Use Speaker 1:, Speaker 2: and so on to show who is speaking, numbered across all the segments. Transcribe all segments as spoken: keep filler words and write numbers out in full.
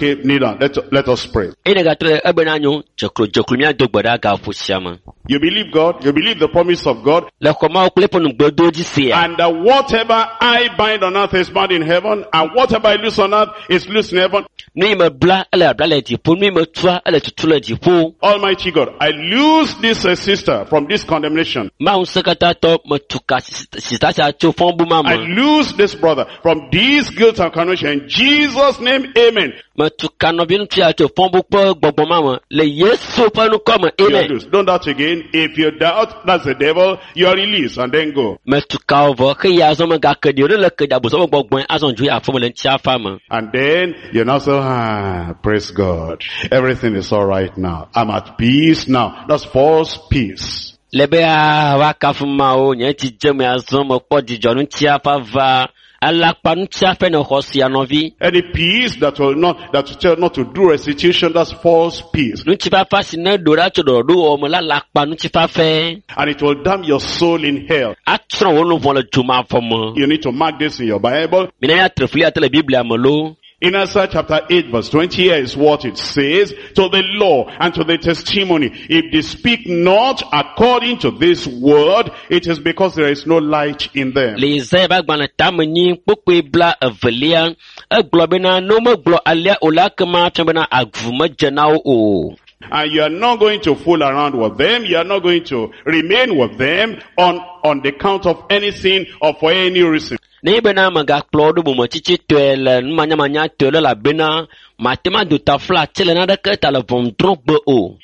Speaker 1: Okay, kneel down. Let, let us pray.
Speaker 2: Eye negatrɔ ɖe ebena nyo dzeklo dzeklo míado gbe ɖa gaƒo sia me.
Speaker 1: You believe God, you believe the promise of God,
Speaker 2: Le xɔ Mawu kple eƒe nugbedowo dzi sia.
Speaker 1: and that whatever I bind on earth is bound in heaven, and whatever I loose on earth is loose in heaven.
Speaker 2: Nu yi me bla ele bla le dziƒo, nu yi me tua ele tutu le dziƒo.
Speaker 1: Almighty God, I loose this uh, sister from this condemnation.
Speaker 2: Mawu ŋusẽkatãtɔ metu ka sita sia tso fɔbu ma
Speaker 1: I
Speaker 2: me.
Speaker 1: loose this brother from this guilt and condemnation. In Jesus' name, amen.
Speaker 2: Metu ka nɔvi ŋutsu ya tso fɔbu kple gbɔgbɔ ma me le Yesu ƒe ŋkɔ me.
Speaker 1: You are
Speaker 2: Amen.
Speaker 1: loose. Don't doubt again. If you doubt, that's the devil. You are released and then go.
Speaker 2: Metu ka wo vɔ xeya azɔ megake ɖi o ne le ke ɖi abosam ƒe gbɔgbɔe azɔ dzo yi aƒeme le ŋutiafa me.
Speaker 1: And then you now say, ah, praise God. Everything is all right now. I'm at peace now. That's false peace.
Speaker 2: Le be aa woakafu Mawu nye dzi dze me azɔ mekpɔ dzidzɔ ŋutiafa va alakpa ŋutiafa ne xɔ sia nɔvi.
Speaker 1: Any peace that will not, that will tell not to do restitution, that's false peace.
Speaker 2: Ŋutifafa si ne ɖo ɖa tso ɖɔɖɔɖo wɔ me la alakpa ŋutifafae.
Speaker 1: And it will damn your soul in hell.
Speaker 2: Atsrɔ̃ wò nuvɔ̃ le dzomavɔ me.
Speaker 1: You need to mark this in your Bible.
Speaker 2: Mina míatre fli ate le Biblia me loo.
Speaker 1: In Isaiah chapter eight verse twenty here is what it says, to the law and to the testimony, if they speak not according to this word, it is because there is no light in them.
Speaker 2: Le Yesaya ƒe agbalẽ tame nyi kpukpui bla evelia, egblɔ bena ne womegblɔ alea o la ekema fia bena avu medze na wo o.
Speaker 1: And you are not going to fool around with them. You are not going to remain with them on, on the count of anything or for any reason.
Speaker 2: Nenye bena megakplɔ wo ɖo bometsitsitɔe le numanyamanyatɔe le elabena mate ŋu ado taflatse le naneke ta le ʋɔnudrɔ̃gbe o.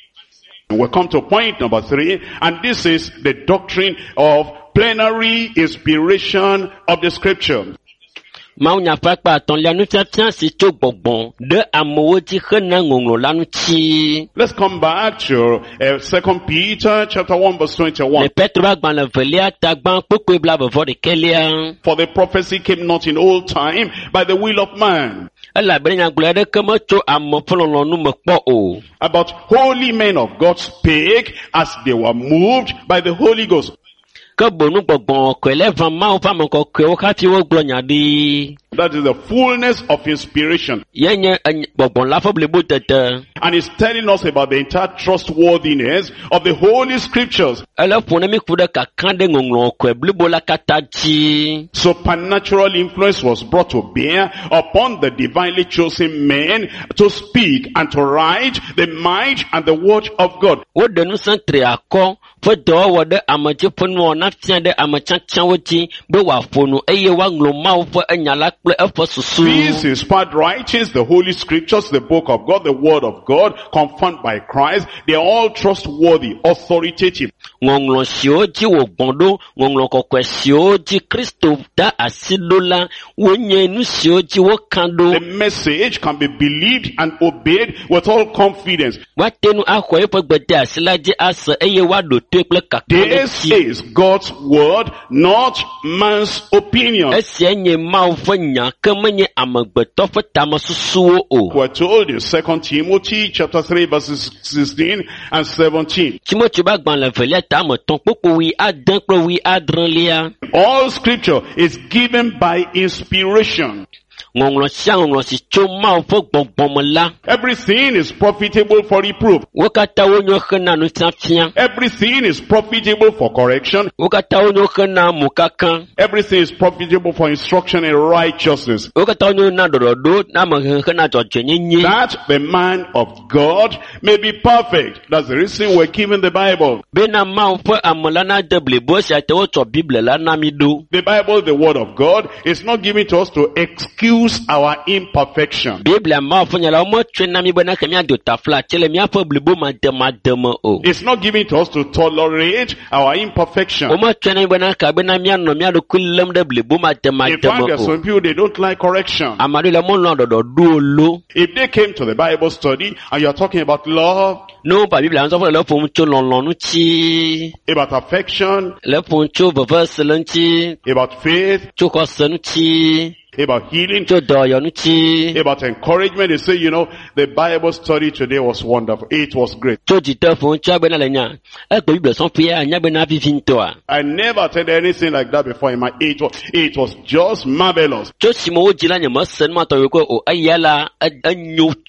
Speaker 1: We come to point number three, and this is the doctrine of plenary inspiration of the scripture.
Speaker 2: Mawunya ƒe akpa etɔ̃lia nufiafia si tso gbɔgbɔ ɖe amewo dzi hena ŋɔŋlɔ la ŋuti.
Speaker 1: Let's come back to uh, Second Peter chapter one verse twenty-one.
Speaker 2: Le Petro ƒe agbalẽ evelia ta gbã kpukpui bla vɔ ɖekɛlia.
Speaker 1: For the prophecy came not in old time by the will of man,
Speaker 2: Elabena nyagblɔɖi aɖeke metso ame ƒe lɔlɔ̃nu me kpɔ o.
Speaker 1: but holy men of God spake as they were moved by the Holy Ghost.
Speaker 2: Ke boŋ gbɔgbɔ kɔkɔe le ʋã Mawu ƒe ame kɔkɔewo hafi wogblɔ nya ɖi.
Speaker 1: That is the fullness of inspiration.
Speaker 2: Ye nye eny- gbɔgbɔ la ƒe blibodede.
Speaker 1: And it's telling us about the entire trustworthiness of the Holy Scriptures.
Speaker 2: Ele ƒo ne mi ku ɖe kaka ɖe ŋɔŋlɔ kɔkɔe blibo la katã dzi.
Speaker 1: Supernatural influence was brought to bear upon the divinely chosen men to speak and to write the mind and the word of God.
Speaker 2: Woɖe ŋusẽ tri akɔ ƒe dɔwɔwɔ ɖe ame dzi ƒe nuwɔna fia ɖe ame tiatiawo dzi be wòaƒo nu eye woaŋlɔ Mawu ƒe enya la kple eƒe susu.
Speaker 1: These inspired writings, the Holy Scriptures, the book of God, the word of God, confirmed by Christ, they are all trustworthy, authoritative.
Speaker 2: Ŋɔŋlɔ siwo dzi wògbɔ̃ ɖo, ŋɔŋlɔ kɔkɔe siwo dzi Kristo da asi ɖo la, wonye nu siwo dzi woka ɖo.
Speaker 1: The message can be believed and obeyed with all confidence.
Speaker 2: Woate ŋu axɔ eƒe gbedeasi la dzi ase eye woaɖo toe kple
Speaker 1: This
Speaker 2: kakaɖedzi.
Speaker 1: is God's word, not man's opinion.
Speaker 2: Esia nye Mawu ƒe nya ke menye amegbetɔ ƒe tamesusuwo o.
Speaker 1: We're told in Second Timothy chapter three verses sixteen and seventeen.
Speaker 2: Timoteo ƒe agbalẽ evelia ta ame etɔ̃ kpukpui wui ade kple wui adrelia.
Speaker 1: All scripture is given by inspiration.
Speaker 2: Ŋɔŋlɔ sia ŋɔŋlɔ si tso Mawu ƒe gbɔgbɔ me la,
Speaker 1: Everything is profitable for reproof.
Speaker 2: wo katã wonyo hena nufiafia.
Speaker 1: Everything is profitable for correction.
Speaker 2: Wo katã wonyo hena mokaka.
Speaker 1: Everything is profitable for instruction in righteousness.
Speaker 2: Wo katã wonyo na ɖɔɖɔɖo na amehehe na dzɔdzɔenyenye.
Speaker 1: That the man of God may be perfect. That's the reason we're given the Bible.
Speaker 2: Bena Mawu ƒe ame la nade blibo esia te wotsɔ Biblia la na mi ɖo.
Speaker 1: The Bible, the word of God, is not given to us to excuse our imperfection.
Speaker 2: Biblia Mawu ƒe nya la wometsɔe na mi bena ke míado taflatse le míaƒe blibo mademade me o.
Speaker 1: It's not given to us to tolerate our imperfection.
Speaker 2: Wometsɔe na mi bena ke bena míanɔ mía ɖokui lém ɖe blibo
Speaker 1: In
Speaker 2: mademade
Speaker 1: fact,
Speaker 2: me
Speaker 1: there are
Speaker 2: o.
Speaker 1: some people, they don't like correction.
Speaker 2: Ame aɖewo le melɔ̃a ɖɔɖɔɖo o lo.
Speaker 1: If they came to the Bible study and you're talking about love,
Speaker 2: Ne wova Biblia nusɔsrɔ̃ le ƒom tso lɔlɔ̃ ŋuti,
Speaker 1: about affection,
Speaker 2: le ƒom tso vevesese ŋuti,
Speaker 1: about faith,
Speaker 2: tso xɔse ŋuti,
Speaker 1: about healing,
Speaker 2: tso dɔyɔ ŋuti,
Speaker 1: about encouragement, they say, you know, the Bible study today was wonderful. It was great.
Speaker 2: tso dzideƒo ŋuti agbena le nya. Egbe Biblia sɔƒea anya bena vivi ŋutɔa.
Speaker 1: I never attended anything like that before in my age. It was just marvelous.
Speaker 2: Tso sime wodzi la nye mese nu ma tɔgbi ko o. Eya la e- enyo